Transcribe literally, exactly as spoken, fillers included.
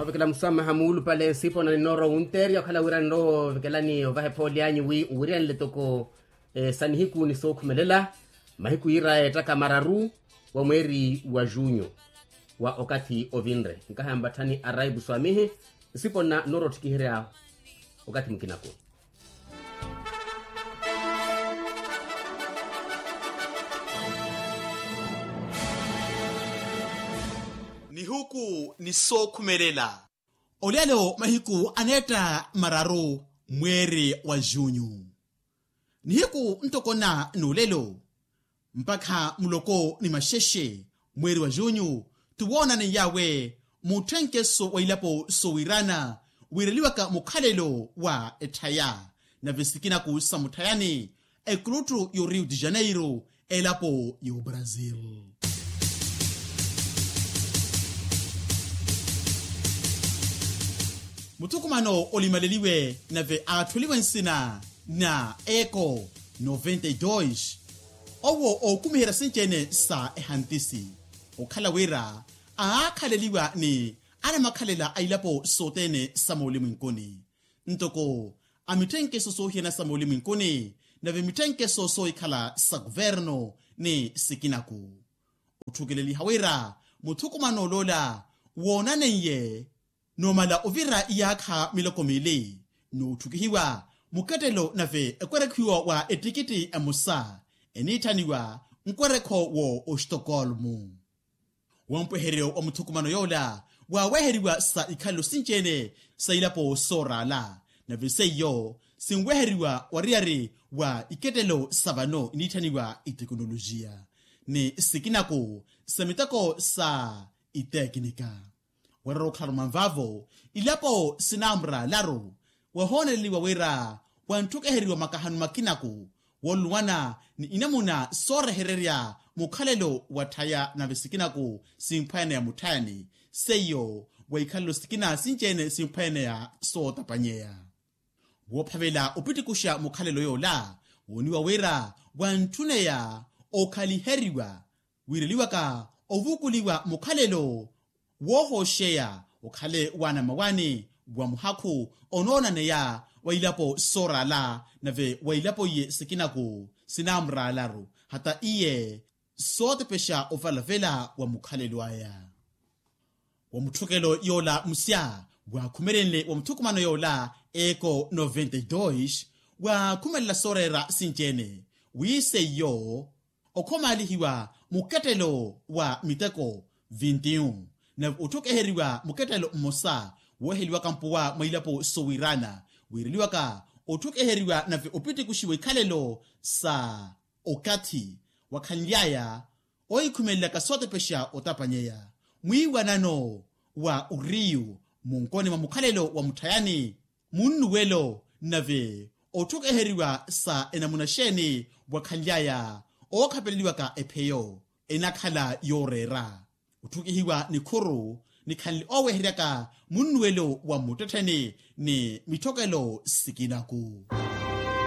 Ovekela muswamaha muulupale nsipona ninoora owunteerya okhala wira ninoora ovekelani ovaha ephooli anyu wi uwiryanle toko sa nihiku ni sookhumelela mahiku yiiraya ettaka mararu wa mweeri wa junyu wa okathi ovinre. Nkaha mpatthani araipu swamihi nsipona ninoora otthikiherya okathi mukinako. Nihuku ni sookhumelela. Olelo mahiku aneetta mararu mweeri wa junyu. Nihiku ntoko na n'olelo mpakha muloko ni maxexe mweeri wa junyu, ti woonaneiyawe mutthenkeso wa ilapo sowiirana wiireliwaka mukhalelo wa etthaya. Nave sikinaku sa mutthayani ekuluttu y'orio de janeiro elapo y'obrazil. Muthukumano olimaleliwe nave aattholiwe nsina na eko noventa e dos, owo ookumiherya sinci-ene sa ehantisi okhala wira aakhaleliwa ni anamakhalela a ilapo sothene sa moolumwenkuni, ntoko a mitthenkeso soohiyana sa moolumwenkuni nave mitthenkeso soohikhala sa kuverno ni sikinaku. Otthukeleliha wira muthukumano oloola woonaneiye numala ovira iyaakha miloko miili n'utthukihiwa mukettelo nave ekwerekhiwa wa ettikitti emosa eniitthaniwa nkwerekho wo ostokolmu. Wompweheryo wa muthukumano yoola waaweheriwa sa ikhalelo sinci-ene sa ilapo sooraala nave seiyo sinweheriwa wariyari wa ikettelo sa vano iniitthaniwa itekinolojiya ni sikinaku sa miteko sa itekinika. Warerya okhalano manvaavo ilapo sinaamuraalaru wahooneleliwa wira wantthukeheriwa makahanu makinaku wooluwana ni inamuna soorehererya mukhalelo wa tthaya nave sikinaku simphwaneya mutthayani seiyo wa ikhalelo sikina sinci-ene simphwaneya sootapanyeya. Woophavela opitikuxa mukhalelo yoola wooniwa wira wantthuneya okhaliheriwa wiireliwaka ovukuliwa mukhalelo woohooxeya okhale waana mmawaani wa muhakhu onoonaneya wa ilapo sooraala nave wa ilapo iye sikinaku sinaamuraalaru hata iye sootepexa ovalavela wa mukhalelo aya. Wa mutthukelo yoola musya waakhumelenle wa muthukumano yoola eko noventa e dos waakhumelela sooreera sinci-ene wi seiyo okhomaalihiwa mukettelo wa miteko vinti-un nave otthukeheriwa mukettelo mmosa wooheliwaka mpuwa mwa ilapo sowiirana wiireliwaka otthukeheriwa nave opitikuxiwa ikhalelo sa okathi wakhanly'aya oohikhumelelaka sootepexa otapanyeya mwiiwanano wa oriyu munkoni mwa mukhalelo wa mutthayani munnuwelo nave otthukeheriwa sa enamuna xeeni wakhanly'aya ookhapeleliwaka epheyo enakhala yooreera otthukihiwa nikhuru nikhanle ooweheryaka munnuwelo wa muttettheni ni mitthokelo sikinaku.